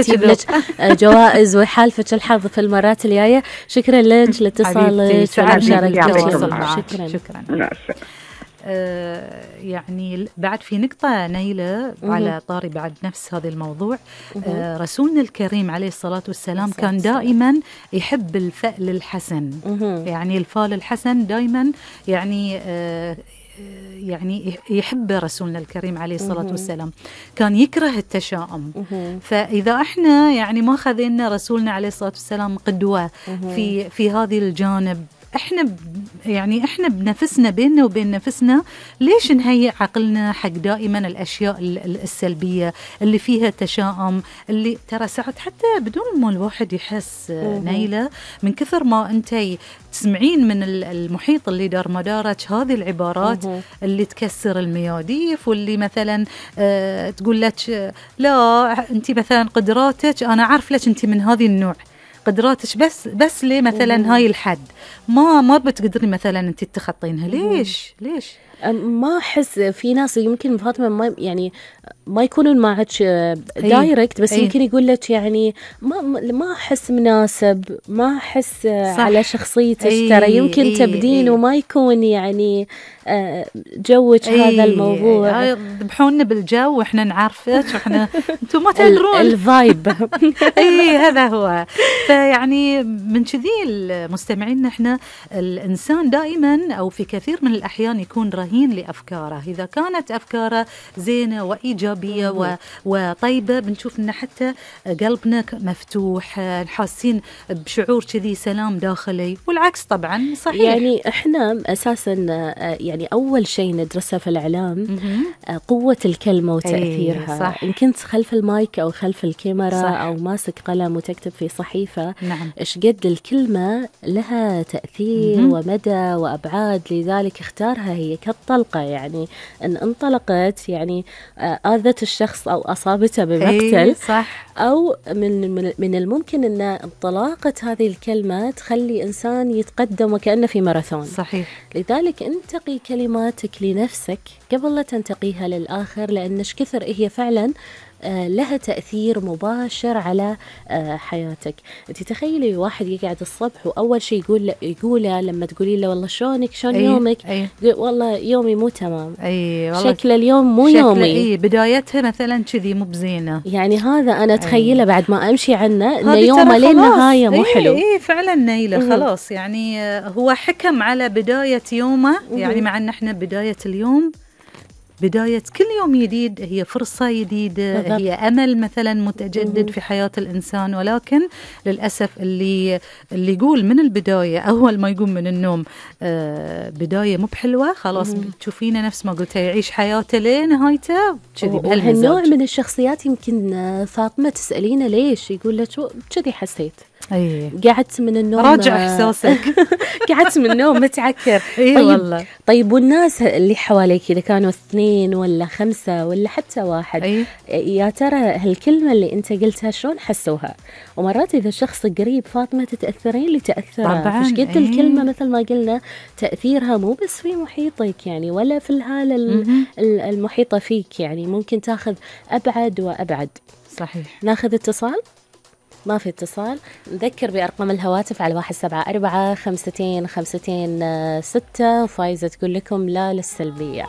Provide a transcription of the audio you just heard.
تجيب لك جوائز ويحالفك الحظ في المرات الجاية. شكرا لك لاتصالك ومشاركتك. شكرا. يعني بعد في نقطة نيلة على طاري بعد نفس هذا الموضوع. رسولنا الكريم عليه الصلاة والسلام كان دائما يحب الفأل الحسن. يعني الفال الحسن دائما يعني يحب رسولنا الكريم عليه الصلاة والسلام، كان يكره التشاؤم. فإذا احنا يعني ما خذينا رسولنا عليه الصلاة والسلام قدوة في هذه الجانب، احنا بنفسنا بيننا وبين نفسنا ليش نهيئ عقلنا حق دائما الاشياء السلبيه اللي فيها تشاؤم، اللي ترى ساعات حتى بدون ما الواحد يحس نيلة من كثر ما انتي تسمعين من المحيط اللي دار مدارك هذه العبارات اللي تكسر المياديف، واللي مثلا تقول لك لا انتي مثلا قدراتك انا عارف لك انتي من هذه النوع، قدراتك بس ليه مثلا هاي الحد ما بتقدري مثلا انت تخطينها. ليش ما احس في ناس يمكن فاطمه ما يكونون معك دايركت، بس يمكن يقول لك يعني ما احس مناسب، ما احس على شخصيتك، ترى يمكن تبدين وما يكون يعني جوك هذا الموضوع. ذبحونا بالجو واحنا نعرفك واحنا انتم ما تدرون الفايب. هذا هو. فيعني من كذي المستمعين احنا الانسان دائما او في كثير من الاحيان يكون رهين لافكاره. اذا كانت افكاره زينه وايجابيه وطيبه بنشوف ان حتى قلبنا مفتوح، حاسين بشعور كذي سلام داخلي، والعكس طبعا صحيح. يعني احنا اساسا يعني اول شيء ندرسه في الاعلام قوه الكلمه وتاثيرها. صح. ان كنت خلف المايك او خلف الكاميرا صح. او ماسك قلم وتكتب في صحيفه، نعم. ايش قد الكلمه لها تاثير ومدى وابعاد، لذلك اختارها هي كالطلقه، يعني ان انطلقت يعني آذت الشخص او اصابته بمقتل صح. او من الممكن ان انطلاقه هذه الكلمه تخلي انسان يتقدم وكانه في ماراثون. صحيح. لذلك انتقي كلماتك لنفسك قبل لا تنتقيها للآخر، لأنش كثر هي فعلا لها تأثير مباشر على حياتك. انت تخيلي واحد يقعد الصبح وأول شيء يقوله لما تقولي له والله شلونك شلون يومك، والله يومي مو تمام، شكل اليوم مو يومي، بدايتها مثلا كذي مو بزينة. يعني هذا أنا تخيله بعد ما أمشي عنه إن يومه للنهاية مو حلو. فعلا نيلة خلاص يعني هو حكم على بداية يومه. يعني مع أن احنا بداية اليوم بداية كل يوم جديد، هي فرصة جديدة، هي أمل مثلا متجدد في حياة الإنسان. ولكن للأسف اللي يقول من البداية أول ما يقوم من النوم بداية مو بحلوة، خلاص تشوفينه نفس ما قلت يعيش حياته لنهايته كذي بهالمزاج. هالنوع من الشخصيات يمكن فاطمة تسألينه ليش، يقول لك كذي حسيت. قعدت من النوم راجع إحساسك. قعدت من النوم متعكر. والله. طيب والناس اللي حواليك إذا كانوا 2 ولا 5 ولا حتى 1 يا ترى هالكلمة اللي أنت قلتها شلون حسوها؟ ومرات إذا شخص قريب فاطمة تتأثرين لتأثرها، فش قد الكلمة مثل ما قلنا تأثيرها مو بس في محيطك يعني ولا في الهالة المحيطة فيك، يعني ممكن تاخذ أبعد وأبعد. صحيح. ناخذ اتصال؟ ما في اتصال. نذكر بأرقام الهواتف على 174 52 52 6. وفايزة تقول لكم لا للسلبية.